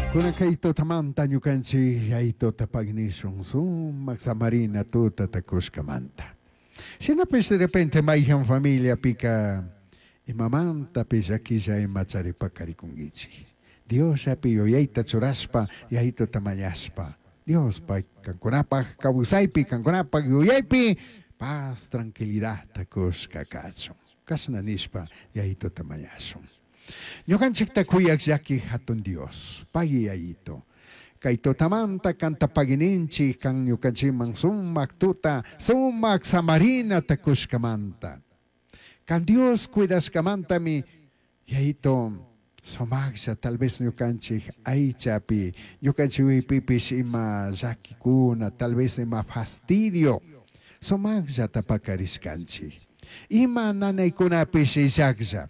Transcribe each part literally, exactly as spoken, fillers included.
Kunan kay tutamanta ñukanchik Yayituta pagnishun sumak samarina tutata kushkamanta. Shinapish de repente mayhan familiapika imamantapish llaquilla ima charipakarikunkichik. Diosllapi yuyayta churashpa Yayituta mañashpa Dios pay kankunapaj kawsaypi kankunapaj yuyaypi paz tranquilidadta kushka kachun. Kashna nishpa Yayituta mañashun. Ñukanchikta kuyaq llaki hatun Dios, pagui Yayito. Kay tutamanta kanta pagininchik kan ñukanchikman sumak tuta, sumak samarinata kushkamanta. Kan Dios cuidashkamantami Yayito sumaklla tal vez ñukanchik aychapi, ñukanchik uypipish ima llakikuna, tal vez ima fastidio, sumakllata pakarishkanchik. Ima nanaykunapish illaklla,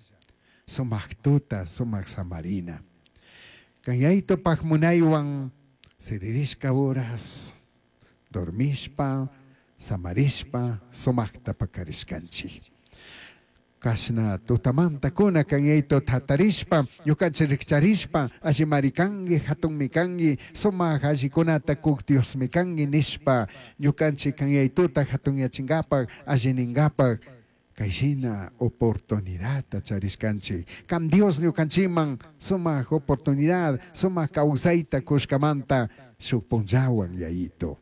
sumak tuta, sumak samarina. Kan Yayitopaj munaywan siririshka horas, dormishpa, samarishpa, sumakta pakarishkanchik. Kashna tutamanta kuna kan Yayito tatarishpa, ñukanchik rikcharishpa, allimari kanki, hatunmi kanki, sumak allikunata kuk Diosmi kanki nishpa, ñukanchik kan Yayituta hatunyachinkapak, allininkapaq, kayshina oportunidadta charishkanchik. Kan Dios ñukanchikman sumak oportunidad, sumak kawsayta kushkamanta shuk punllawan Yayito.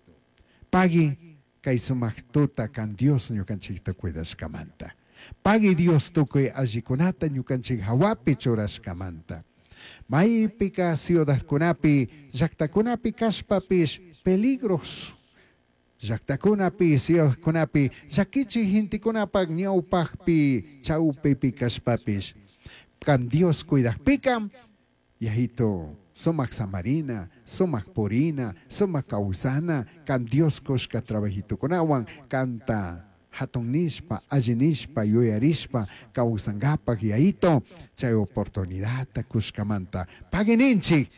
Pagui kay sumak tuta kan Dios ñukanchikta cuidashkamanta. Pagui Dios tukuy allikunata ñukanchik hawapi churashkamanta. Maypika ciudadkunapi, llaktakunapi kashpapish peligros. Llaktakunapi, ciudadkunapi, llakichik gentekunapak ñawpakpi, chawpipi kashpapish. Kan Dios cuidakpika, Yayito, sumak samarina, sumak purina, sumak kawsana, kan Dios kushka trabajitukunawan, kanta hatun nishpa, alli nishpa, yuyarishpa, kawsankapak Yayito, chay oportunidadta kushkamanta, pagininchik,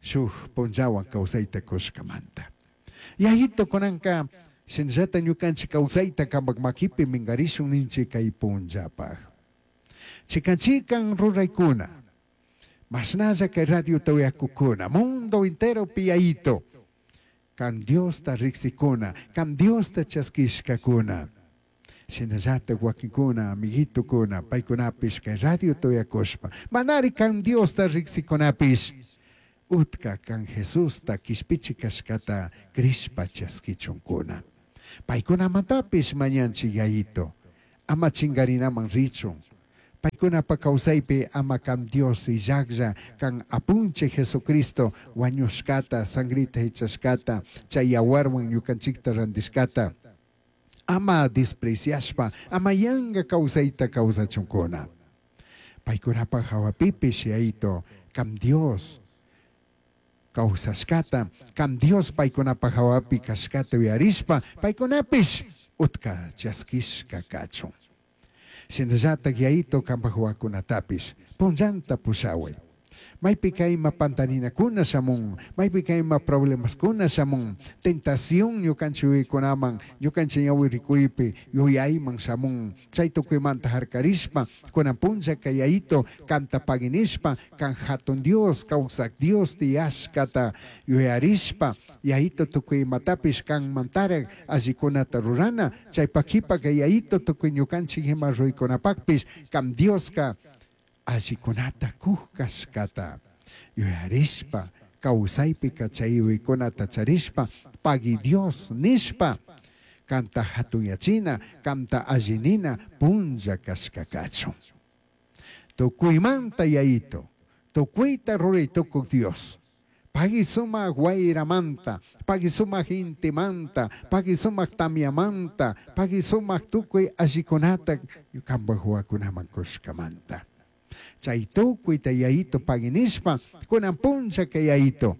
shuk punllawan kawsayta kushkamanta. Yayito kunanka, shinallata ñukanchik kawsayta kampak makipi minkarishun ninchik kay punllapaj. Chikan chikan ruraykuna, mashnalla kay radiota uyakukuna, mundo enteropi Yayito, kan Diosta riksikuna, kan Diosta chaskishkakuna. Shinallata wakinkuna, amiguitukuna, paykunapish kay radiota uyakushpa, manari kan Diosta riksikunapish, utka kan Jesusta kishpichi kashkata crishpa chaskichunkuna. Paykunamantapish mañanchik Yayito, ama chingarinaman richun. Paykunapa kawsaypi ama kan Dios illaklla, kan apunchik Jesucristo wañushkata, sangrita hichashkata, chay yawarwan ñukanchikta randishkata, ama despreciashpa, ama yanka kawsayta kawsachunkuna. Paykunapa hawapipish Yayito, kan Dios kawsashkata, kan Dios paykunapa hawapi kashkata uyarishpa, paykunapish utka chaskishka kachun. Shinallatak Yayito kanpak wawakunatapish punllanta pushaway. Maypika ima pantarinakuna shamun, maypika ima problemaskuna shamun, tentación ñukanchik yuyaykunaman, ñukanchik ñawi rikuypi yuyayman shamun, chay tukuymanta harkarishpa, kunan punllaka Yayito kanta paginishpa, kan hatun Dios, kawsak Dios tiyashkata yuyarishpa, Yayito tukuy imatapish kanmantarak allikunata rurana, chaypak kipaka Yayito tukuy ñukanchik ima ruraykunapakpish, kan Dioska allikunata kuk kashkata yuyarishpa, kawsaypika chay yuyaykunata charishpa, pagui Dios nishpa, kanta hatunyachina, kanta allinina punlla kashka kachun. Tukuymanta Yayito, tukuyta ruray tukuk Dios, pagui sumak wayramanta, pagui sumak intimanta, pagui sumak tamyamanta, pagui sumak tukuy allikunata kanpak wawakunaman kushkamanta. Chay tukuyta Yayito paginishpa, kunan punlla kay Yayito,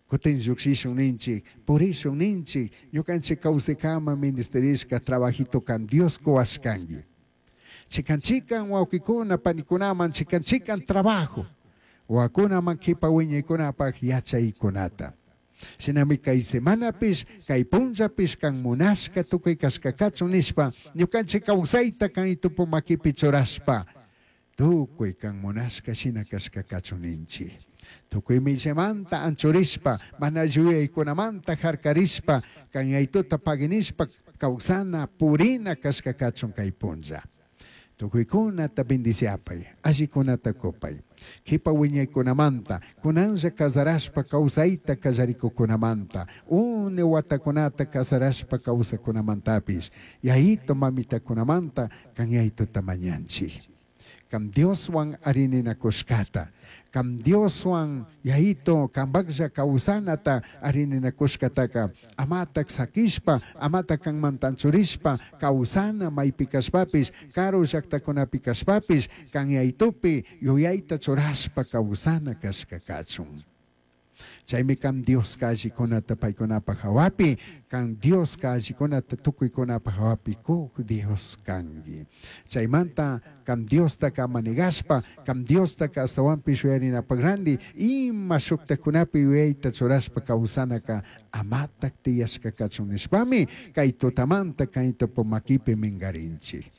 kutin llukshishun ninchik, purishun ninchik, ñukanchik kawsaykama ministerishka trabajito kan Dios kuwashkanki. Chikan chikan wawqikuna, panikunaman, chikan chikan trabajo, wawakunaman kipa wiñaykunapak yachaykunata. Shinami kay semanapish, kay punllapish kan munashka tukuy kashka kachun nishpa, ñukanchik kawsayta kan itupu makipi churashpa, Tukuy kan munashka shina kashka kachun ninchik. Tukuy millamanta anchurishpa, mana yuyaykunamanta harkarishpa, kan Yayituta paginishpa kawsana purina kashka kachun kay punlla. Tukuykunata bendiciapay, allikunata kupay. Kipa wiñaykunamanta, kunanlla kasarashpa kawsayta kallarikukunamanta, une watakunata kasarashpa kawsakunamantapish, Yayito mamitakunamanta kan Yayituta mañanchik. Kam Dioswan arininakushkata, kam Dioswan Yayito kambaklla kawsanata arininakushkataka, amatak sakishpa, amatak kanmanta anchurishpa, kawsana maypi kashpapish, karu llaktakunapi kashpapish, kan Yayitupi yuyayta churashpa kawsana kashka kachun. Chaymi kam Dioska allikunata paykunapaj hawapi, kan Dioska allikunata tukuykunapaj hawapi kuk Dios kanki. Chaymanta kam Diostaka manegashpa, kam Diostaka ashtawanpish yuyarinapaj randi, ima shuktakunapi yuyayta churashpa kawsanaka amatak tiyashka kachun nishpami, kay tutamanta kay tupu makipi minkarinchik.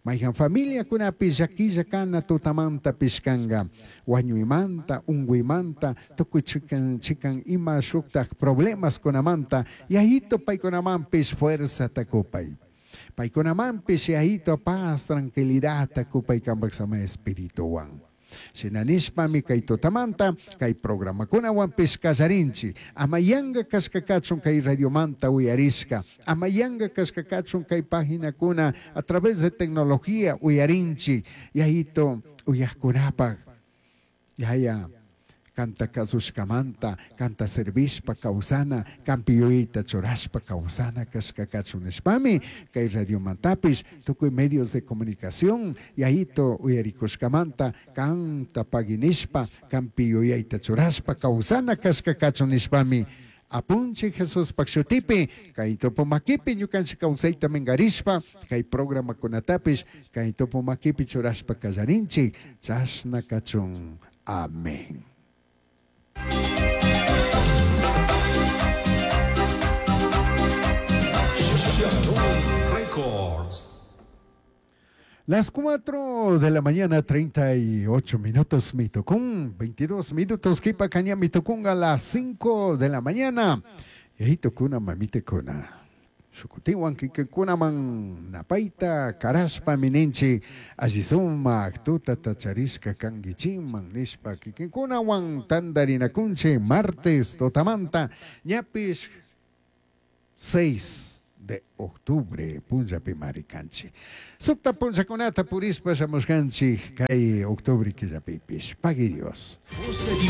Mayhan familiakunapi llakilla kana tutamanta pishkanka, wañuymanta, unkuymanta, tukuy chikan, chikan ima shuktak problemaskunamanta, Yayito paykunamanpish fuerzata kupay. Paykunamanpish Yayito paz, tranquilidadta kupay kanpak samay espirituwan. Shina nishpami kay tutamanta, kay programakunawanpish kallarinchik. Ama yanka kashka kachun kay radiomanta uyarishka, ama yanka kashka kachun kay paginakuna a través de tecnología uyarinchik. Yayito uyajkunapak, yaya kanta kasushkamanta, kanta servishpa kawsana, kanpi yuyayta churashpa kawsana kashka kachun nishpami, kay radiomantapish, tukuy medios de comunicación, yayito uyarikushkamanta, kanta paginishpa, kanpi yuyayta churashpa kawsana kashka kachun nishpami, Apunchik Jesuspak shutipi, kay tupumakipi ñukanchik kawsayta minkarishpa, kay programakunatapish, kay tupumakipi churashpa kallarinchik, chashna kachun. Amén. Records. Las cuatro de la mañana, treinta y ocho minutos, Mitocún, veintidós minutos, Kipa Caña, Mitocún, a las cinco de la mañana. Y ahí tocuna, mamite cuna. Shukutiwan kikikunaman napaita karashpa mininchi allisuma tuta tacharishka kangichiman nishpa kikinkunawan tandarinakunchi martes totamanta ñapish seis de octubre punllapi marikanchi. Sukta punllakunata purispa shamushkanchi kay octubre killapipish. Pagui Dios.